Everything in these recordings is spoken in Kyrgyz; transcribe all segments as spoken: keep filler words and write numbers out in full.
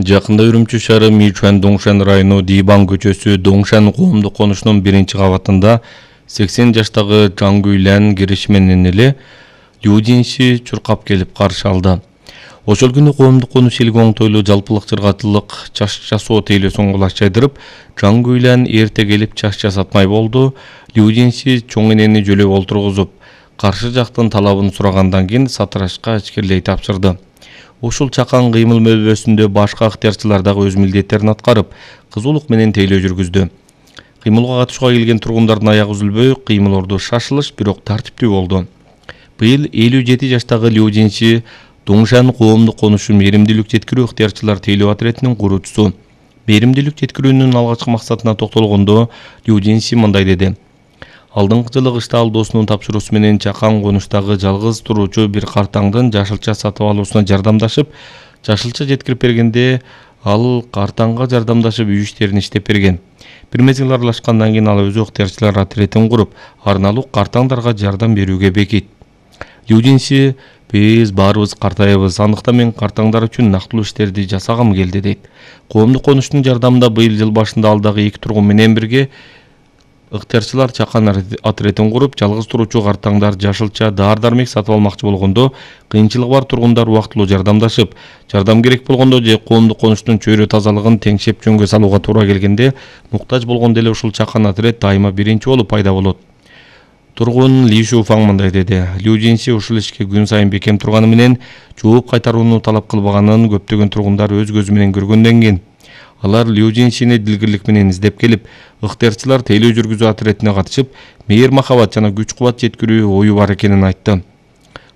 Жакында Үрүмчү шаары Мичуан Доңшан району Дибан көчөсү Доңшан коомдук конушунун биринчи кабатында сексен жаштагы Жангүйлән кириши менен эле Людинси чуркап келип каршы алды. Ошол күнү коомдук конуш элге оңтойлуу жалпылык жыргатылык чаш жасоо тейлөөсүн кулаш жайдырып, Жангүйлән эрте келип чаш жасатмай болду. Людинси чоң энени жөлөп олтургузуп, каршы жактын талабын сурагандан кийин сатырашка ичкирлей тапшырды. Ушул чакан кыймыл мөбөсүндө башка ыктыярчылар дагы өз милдеттерин аткарып, кызуулук менен тейлөө жүргүздү. Кыймылга катышууга келген тургундардын аягы үзүлбөй, кыймыл шашылыш, бирок тартиптүү болду. Быйыл элүү жети жаштагы Людинси Доңшан коомдук конушун мээримдүүлүк жеткирүү ыктыярчылар тейлөө отрядынын куруучусу. Мээримдүүлүк жеткирүүнүн алгачкы максатына токтолгондо Людинси мындай деди: Алдыңкы жылы кышта ал досунун тапшыруусу менен чакан конуштагы жалгыз туруучу бир картаңдын жашылча сатып алуусуна жардамдашып, жашылча жеткирип бергенде ал картаңга жардамдашып үй иштерин иштеп берген. Бир мезгил аралашкандан кийин ал өзү ыктыярчылар отрядын куруп, арналуу картаңдарга жардам берүүгө бекит. Людинси: Биз баарыбыз картайбыз, андыктан мен картаңдар үчүн нактылуу иштерди жасагым келди дейт. Коомдук конуштун жардамында быйыл жыл башында ал дагы эки тургун менен бирге ыктыярчылар чакан отрядын куруп, жалгыз туруучу картаңдар жашылча даар-дармек сатып алмакчы болгондо, кыйынчылыгы бар тургундар убактылуу жардамдашып, жардам керек болгондо же коомдук конуштун чөйрө тазалыгын теңшеп жөнгө салууга туура келгенде, муктаж болгондо эле ушул чакан отряд дайыма биринчи болуп пайда болот. Тургун Ли Шуфаң мындай деди: Людинси ушул ишке күн сайын бекем турганы менен жооп кайтарууну талап кылбаганын көптөгөн тургундар өз көзү менен көргөндөн кийин алар Людинсини дилгирлик менен издеп келип, ыктыярчылар тейлөө жүргүзүү отрядына катышып, мээр махабат жана күч-кубат жеткирүү ою бар экенин айтты.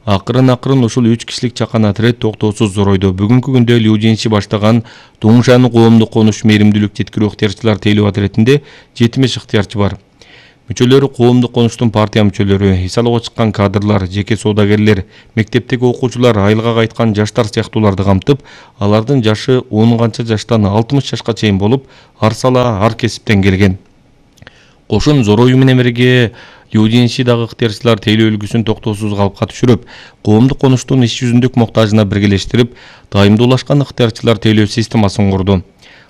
Акырын-акырын ушул үч кишилик чакан отряд токтоосуз зоройду. Бүгүнкү күндө Людинси баштаган Доңшан коомдук конуш мээримдүүлүк жеткирүү ыктыярчылар тейлөө отрядинде жетимиш ыктыярчы бар. Мүчөлөрү коомдук конуштун партия мүчөлөрү, эс алууга чыккан кадрлар, жеке соодагерлер, мектептеги окуучулар, айылга кайткан жаштар сыяктууларды камтып, алардын жашы он канча жаштан алтымыш жашка чейин болуп, ар сала ар кесиптен келген. Кошун зорою менен бирге Людинси дагы ыктыярчылар тейлөө үлгүсүн токтоосуз калыпка түшүрүп, коомдук конуштун иш жүзүндүк моктажына биргелештирип, дайымдуулашкан ыктыярчылар тейлөө системасын курду.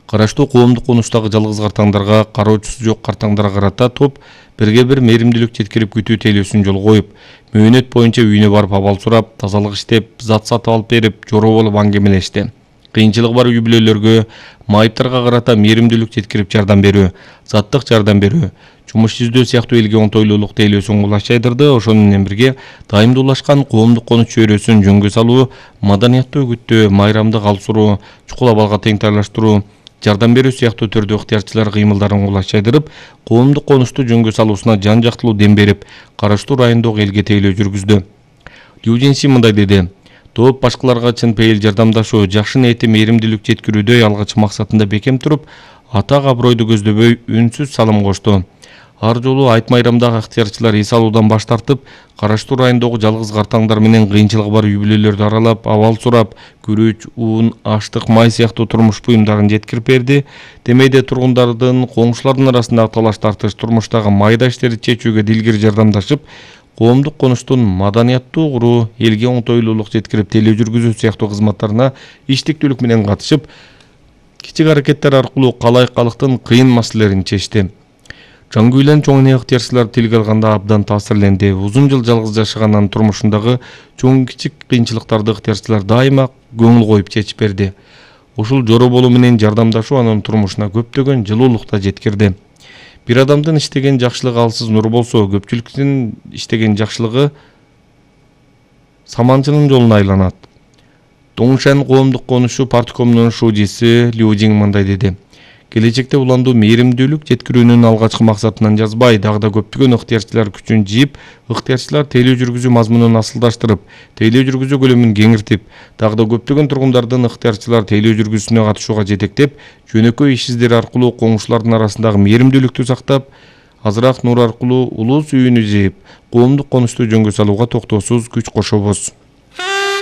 Караштуу коомдук конуштагы жалгыз картаңдарга, кароочусу жок картаңдарга карата топ бирге бир мээримдүүлүк жеткирип күтүү тейлөөсүн жолго коюп, мөөнөт боюнча үйүнө барып абал сурап, тазалык иштеп, зат сатып алып берип, жороо болуп аңгемелешти. Кыйынчылыгы бар үй бүлөлөргө, майыптарга карата мээримдүүлүк жеткирип жардам берүү, заттык жардам берүү, жумуш издөө сыяктуу элге оңтойлуулук тейлөөсүн кулаш жайдырды. Ошону менен бирге дайымдуулашкан коомдук конуш чөйрөсүн жөнгө салуу, маданияттуу үгүттөө, майрамды калсуруу, чукул абалга теңтайлаштыруу, жардам берүү сыяктуу түрдө ыктыярчылар кыймылдарын кулаш жайдырып, коомдук конушту жөнгө салуусуна жан жактылуу дем берип, караштуу райондогу элге тейлөө жүргүздү. Людинси мындай деди: Топ башкаларга чын пейил жардамдашуу, жакшы ниети мээримдүүлүк жеткирүүдө алгачкы максатында бекем туруп, атак абройду көздөбөй үнсүз салым кошту. Ар жолу айт майрамдагы ыктыярчылар эс алуудан баш тартып, караштуу райондогу жалгыз картаңдар менен кыйынчылыгы бар үй бүлөлөрдү аралап, абал сурап, күрүч, уун, аштык, май сыяктуу турмуш буюмдарын жеткирип берди. Демейде тургундардын, коңшулардын арасындагы талаш тартыш, турмуштагы майда иштерди чечүүгө дилгир жардамдашып, коомдук конуштун маданияттуу куруу, элге оңтойлуулук жеткирип тейлөө жүргүзүү сыяктуу кызматтарына иштиктүүлүк менен катышып, кичик аракеттер аркылуу калай калктын кыйын маселелерин чечти. Жангүйлән чоң эне ыктыярчылар тилге алганда абдан таасирленди. Узун жыл жалгыз жашаганын турмушундагы чоң кичик кыйынчылыктарды ыктыярчылар дайыма көңүл коюп чечип берди. Ушул жороо болуу менен жардамдашуу анын турмушуна көптөгөн жылуулук да жеткирди. Бир адамдын иштеген жакшылыгы алсыз нур болсо, көпчүлүктүн иштеген жакшылыгы саманчынын жолуна айланат. Доңшан коомдук конушу парткомунун шуудиси Людин мындай деди: Келечекте уландуу мээримдүүлүк жеткирүүнүн алгачкы максатынан жазбай, дагы да көптөгөн ыктыярчылар күчүн жийип, ыктыярчылар тейлөө жүргүзүү мазмунун асылдаштырып, тейлөө жүргүзүү көлөмүн кеңиртип, дагы да көптөгөн тургундардын ыктыярчылар тейлөө жүргүзүүсүнө катышууга жетектеп, жөнөкөй иш издери аркылуу коңшулардын арасындагы мээримдүүлүктү сактап, азыраак нур аркылуу улус үйүнү жыйып, коомдук конушту жөнгө салууга токтоосуз күч кошобуз.